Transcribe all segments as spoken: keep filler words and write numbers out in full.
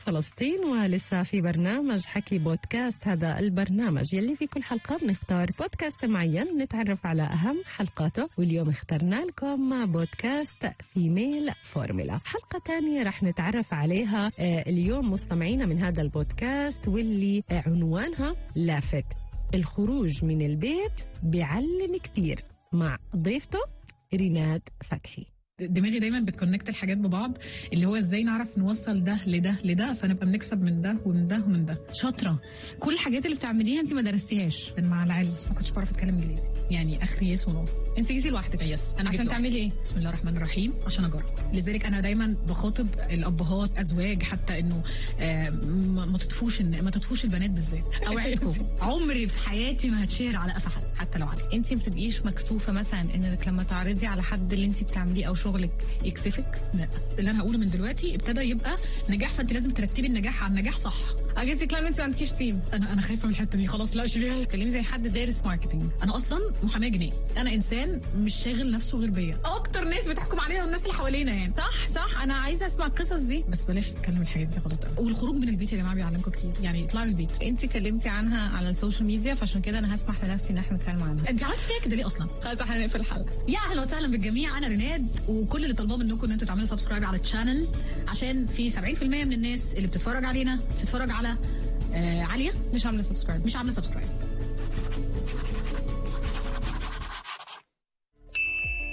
فلسطين، ولسه في برنامج حكي بودكاست. هذا البرنامج يلي في كل حلقة بنختار بودكاست معين نتعرف على أهم حلقاته، واليوم اخترنا لكم بودكاست فيميل فورمولا. حلقة تانية رح نتعرف عليها اليوم مستمعينا من هذا البودكاست، واللي عنوانها لافت: الخروج من البيت بيعلم كتير، مع ضيفته ريناد فتحي. دماغي دايما بتكونكت الحاجات ببعض، اللي هو ازاي نعرف نوصل ده لده لده فنبقى بنكسب من ده ومن ده ومن ده. شاطره. كل الحاجات اللي بتعمليها انت ما درستيهاش. مع العلم ما كنتش بعرف اتكلم انجليزي، يعني اخري يس ونو. انت جيتي لوحدك؟ يس. انا عشان تعملي ايه؟ بسم الله الرحمن الرحيم، عشان اجرب. لذلك انا دايما بخاطب الابهات ازواج حتى انه آه ما تطفوش ما تطفوش البنات بالذات. اوعدكم عمري في حياتي ما هتشهر على قفا حد حتى لو عليك. انت ما بتبقيش مكسوفه مثلا انك لما تعرضي على حد اللي انت بتعمليه او شغلك يكسفك؟ لا، اللي انا هقوله من دلوقتي ابتدى يبقى نجاح، فانت لازم ترتبي النجاح على النجاح صح. اجيسك لما انت ما عندكيش تيم. انا انا خايفه من الحته دي خلاص. لا شيليها. كلمي زي حد دارس ماركتنج. انا اصلا محاميه جنيه، انا انسان مش شاغل نفسه غير بيا. اكتر ناس بتحكم علينا والناس اللي حوالينا يعني. صح صح، انا عايزه اسمع القصص دي. بس بلاش تتكلم الحاجات دي غلط. والخروج من البيت يا جماعه بيعلمكم كتير، يعني اطلعوا من البيت. انت كلمتي عنها على السوشيال ميديا، فعشان كده انا هسمح لنفسي ان احنا نتكلم عنها. انت عملتي فيها كده ليه اصلا؟ خلاص احنا هنقفل الحلقه. يا اهلا وسهلا بالجميع، انا ريناد، وكل اللي طالباه منكم ان انتوا تعملوا سبسكرايب على الشانل، عشان في سبعين بالمية من الناس اللي بتتفرج علينا بتتفرج على آه عاليه مش عامله سبسكرايب مش عامله سبسكرايب.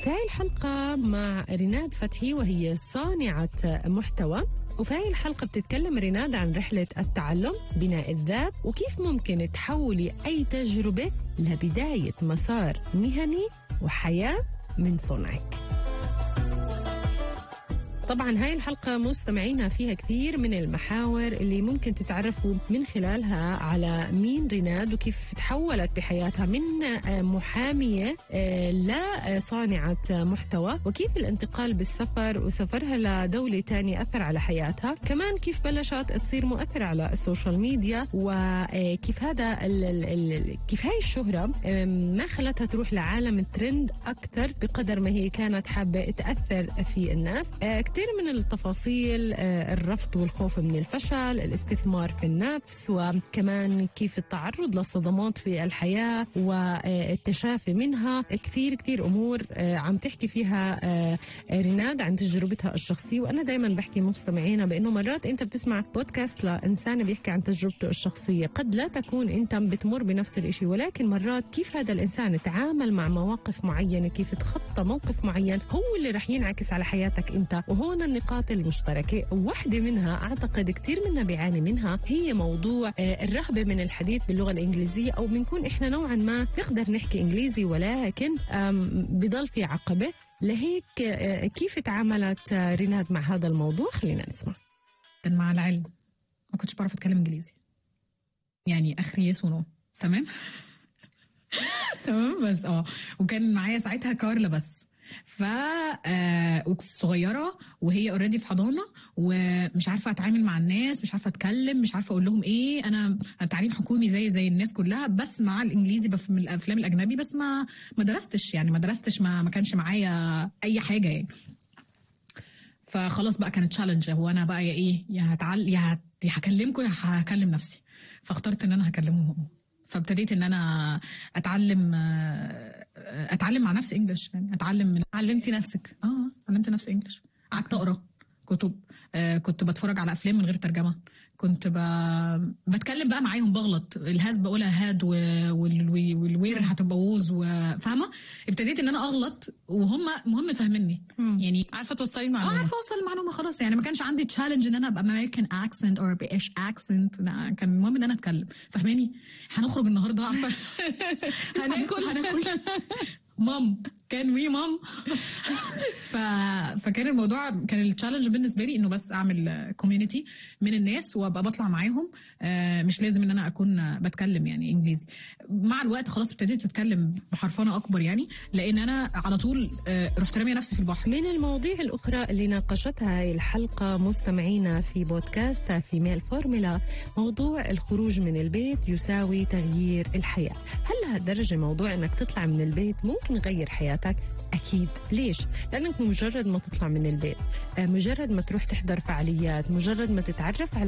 في هاي الحلقة مع ريناد فتحي، وهي صانعة محتوى. وفي هاي الحلقة بتتكلم ريناد عن رحلة التعلم، بناء الذات، وكيف ممكن تحولي أي تجربة لبداية مسار مهني وحياة من صنعك. طبعا هاي الحلقة مستمعينا فيها كثير من المحاور اللي ممكن تتعرفوا من خلالها على مين ريناد، وكيف تحولت بحياتها من محامية لصانعة محتوى، وكيف الانتقال بالسفر وسفرها لدولة تانية أثر على حياتها، كمان كيف بلشت تصير مؤثرة على السوشيال ميديا، وكيف هذا ال ال كيف هاي الشهرة ما خلتها تروح لعالم الترند أكثر بقدر ما هي كانت حابة تأثر في الناس. كثير من التفاصيل، الرفض والخوف من الفشل، الاستثمار في النفس، وكمان كيف التعرض للصدمات في الحياة والتشافي منها. كثير كثير أمور عم تحكي فيها ريناد عن تجربتها الشخصية. وأنا دايما بحكي مستمعينا بأنه مرات أنت بتسمع بودكاست لإنسان بيحكي عن تجربته الشخصية، قد لا تكون أنت بتمر بنفس الإشي، ولكن مرات كيف هذا الإنسان تعامل مع مواقف معينة، كيف تخطى موقف معين، هو اللي رح ينعكس على حياتك أنت. وهون النقاط المشتركة، واحدة منها أعتقد كتير منا بيعاني منها، هي موضوع الرغبة من الحديث باللغة الإنجليزية، أو بنكون إحنا نوعا ما نقدر نحكي إنجليزي ولكن بضل في عقبة. لهيك كيف تعاملت ريناد مع هذا الموضوع؟ خلينا نسمع. مع العلم ما كنتش بعرف أتكلم إنجليزي، يعني آخري يس ونو. تمام تمام بس اه وكان معايا ساعتها كارلا بس، ف آه صغيره وهي اوريدي في حضانه، ومش عارفه اتعامل مع الناس، مش عارفه اتكلم، مش عارفه اقول لهم ايه. انا تعليم حكومي زي زي الناس كلها، بس مع الانجليزي من الافلام الاجنبي، بس ما ما درستش يعني ما درستش ما, ما كانش معايا اي حاجه يعني. فخلاص بقى كانت تشالنج، هو انا بقى يا ايه يا هتعل يا هكلمكم يا هكلم نفسي. فاخترت ان انا هكلمهم، فابتديت ان انا اتعلم اتعلم مع نفسي انجلش، يعني اتعلم من علمتي نفسك. اه علمت نفسي انجلش. قعدت اقرا كتب، آه كنت بتفرج على افلام من غير ترجمه، كنت ب... بتكلم بقى معاهم، بغلط الهاز بقولها هاد والوير هتبوظ، وفاهمه ابتديت ان انا اغلط وهم مهم فاهميني، يعني عارفه توصلي المعلومه. اه عارفه اوصل المعلومه خلاص، يعني ما كانش عندي تشالنج ان انا ابقى امريكان اكسنت او بريتش اكسنت، كان المهم ان انا اتكلم. فاهماني؟ هنخرج النهارده عارفه هناكل هناكل مام كان وي مام ف... فكان الموضوع كان التشالنج بالنسبه لي انه بس اعمل كوميونتي من الناس وابقى بطلع معاهم، آه مش لازم ان انا اكون بتكلم يعني انجليزي. مع الوقت خلاص ابتديت اتكلم بحرفنه اكبر، يعني لان انا على طول آه رحت راميه نفسي في البحر. من المواضيع الاخرى اللي ناقشتها هاي الحلقه مستمعينا في بودكاست فيميل فورمولا، موضوع الخروج من البيت يساوي تغيير الحياه. هل لهالدرجه موضوع انك تطلع من البيت ممكن يغير حياتك؟ أكيد. ليش؟ لأنك مجرد ما تطلع من البيت، مجرد ما تروح تحضر فعاليات، مجرد ما تتعرف على